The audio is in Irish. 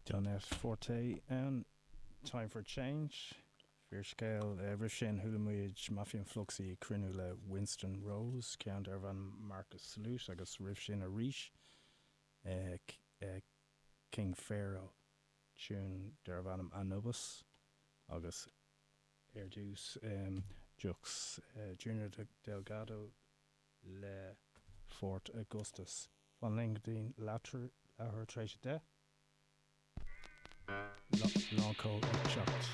Johnette Forte ann, Time for Change, fíorscéal. Roimh sin chuala muid Mafia and Fluxy ag cruinniú le Winston Rose, ceann darbh ainm Marcus Salute agus roimh sin arís King Pharaoh, tiún darbh ainm Anubis agus ar dtús Jux Junior Delgado le Fort Augustus. Fan linn go dtí leathuair tar éis a 10. Lán Cole ag teacht.